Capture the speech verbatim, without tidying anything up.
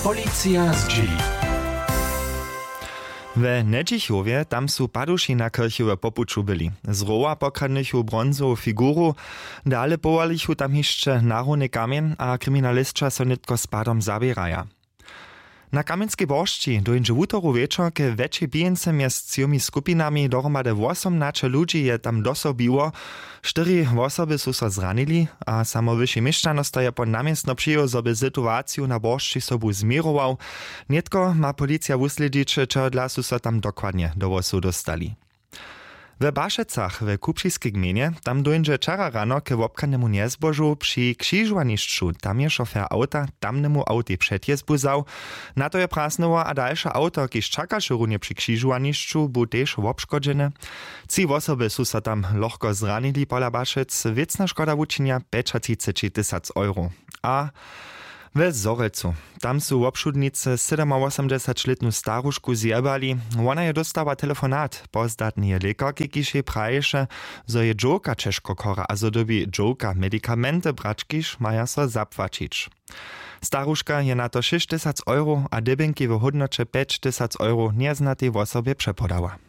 Policija zdźěli. We Njedźichowje tam su paduši na kyrchju w popuću byli. Z rowa pokradnychu bronzowu figuru, dale powolichu tam hišće narowny kamjeń a kriminalisća so nětko z padom zaběraja. Na Kamjenskej boršći dóńdźe wutoru wječor k wjetšej pijeńce mjez třěmi skupinami. Dohromady wosomnaće ludźi je tam do sobu biło. Štyri wosoby su so zranili a samo wyši měšćanosta je po na městno přijěł, zo by situaciju na boršći sobu změrował. Nětko ma policija wuslědźić, čehodla su so tam dokładnje do hłosow dóstali. We Bašecach w Kupřiskej gmejnje tam dóńdźe wčera rano k wobchadnemu njezbožu při křižowanišću. Tam je šofer awta tamnemu awtej předjezbu wzał. Na to je prasnyło a dalše awto, kiž čakaše runje při křižowanišću, bu tež wobškodźene. Tři wosoby su so tam lochko zranili. Pola Bašec wěcna škoda wučinja pjećatřiceći tysac euro. A we Zhorjelcu, tam su wobšudnicy sydomawosomdźesaćlětnu starušku zjebali. Wona je dóstała telefonat pozdatneje lěkarki, kiž jej praješe, zo je dźowka ćežko chora a zo dyrbi dźowka medikamenty brać, kiž maja so zapłaćić. Staruška je na to šěsć tysac euro a dybjenki w hódnoće pjeć tysac euro njeznatej wosobje přepodała.